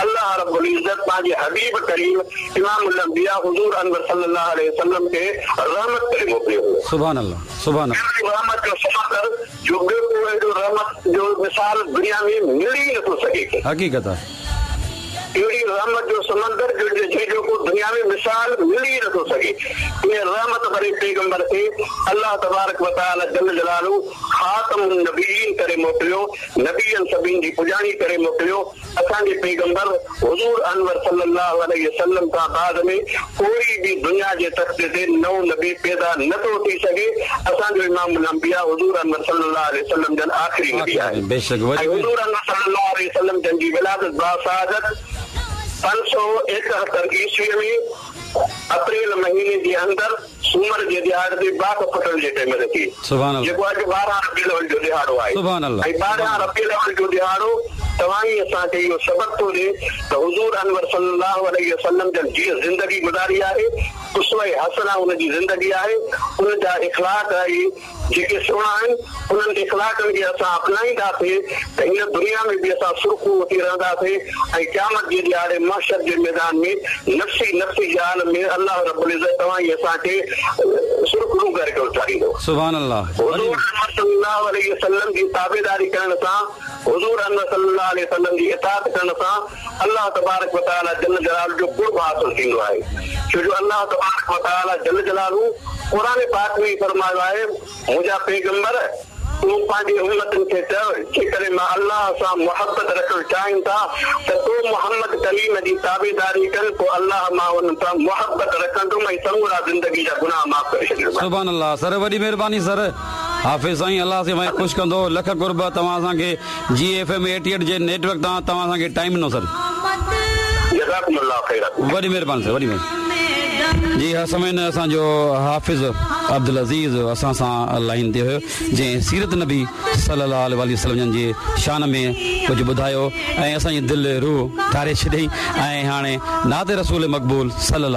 الله رب العزت پنهنجي حبيب ڪريم امام الانبياء حضور انور صلي الله عليه وسلم کي رحمت ڪري موڪليو هيو. سبحان الله سبحان الله. اهڙي رحمت جو سمندر جو ٻيو ڪو اهڙو رحمت جو مثال دنيا ۾ ملي ئي نٿو سگهي. حقيقت آهي. اهڙي رحمت جو سمندر جو جنهن جو ڪو دنيا ۾ مثال ملي ئي نٿو سگهي. انهيء رحمت ڀري پيغمبر کي الله تبارڪ و تعالي جل جلاله خاتم النبيين ڪري موڪليو، نبين سڀني جي پڄاڻي ڪري موڪليو. اسان جي پيغمبر حضور انور صلي الله عليه وسلم کان بعد ۾ ڪوئي به دنيا جي تختي تي نئون نبي پيدا نه ٿو ٿي سگهي، اسان جو امام الانبياء حضور انور صلي الله عليه وسلم جن آخري نبي آهن ۽ حضور انور صلي الله عليه وسلم جن جي ولادت باسعادت 571 عيسويء ۾ اپريل مهيني جي اندر سومر جي ڏهاڙي تي باک ڦٽڻ جي ٽيم تي ٿي، جيڪو اڄ 12 ربيع الاول جو ڏهاڙو آهي ۽ 12 ربيع الاول جو ڏهاڙو توهان ئي اسان کي اهو سبق ٿو ڏي ته حضور انور صلي الله عليه وسلم جن جيئن زندگي گذاري آهي، اسوه حسنه ان جي زندگي آهي، ان جا اخلاق اهي جيڪي سهڻا آهن، انهن اخلاقن کي اسان اپنائينداسين ته هن دنيا ۾ به اسان سرخرو ٿي رهنداسين ۽ قيامت جي ڏهاڙي محشر جي ميدان ۾ نفسي نفسي جي عالم ۾ الله رب العزت توهان ۽ اسان کي سرخرو ڪري اٿاريندو. سبحان الله. حضور انور صلي الله عليه وسلم جي تابعداري ڪرڻ سان، حضور انور صلي الله عليه وسلم جي اطاعت ڪرڻ سان الله تبارڪ و تعالي جل جلاله جو قرب حاصل ٿيندو آهي ڇو جو الله تبارڪ و تعالي جل جلاله قرآن پاڪ ۾ ئي فرمايو آهي منهنجا پيغمبر تون پنهنجي امتن کي چئو جيڪڏهن مان الله سان محبت رکڻ چاهين ٿا ته تو محمد ڪريم جي تابعداري ڪن پوء الله مان انهن سان محبت رکندم ۽ سمورا زندگي جا گناهه معاف ڪري ڇڏيندومانس. سبحان الله سر وڏي مهرباني سر حافظ سائين الله سائين اوهان کي خوش ڪندو لک قرب توهان اسان کي جي ايف ايم ايٽي ايٽ جي نيٽ ورڪ تان توهان اسان کي ٽائيم ڏنو سر. جزاڪم الله خيرا. وڏي مهرباني سر وڏي مهرباني. جي ها سامعين اسان جو حافظ عبدالعزيز اسان سان لائين تي هيو جنهن سيرت نبي صلي الله عليه واٰله وسلم جن جي شان ۾ ڪجهه ٻڌايو ۽ اسان جي دل روح ٺاري ڇڏيائين ۽ هاڻي نعت رسول مقبول صلي الله.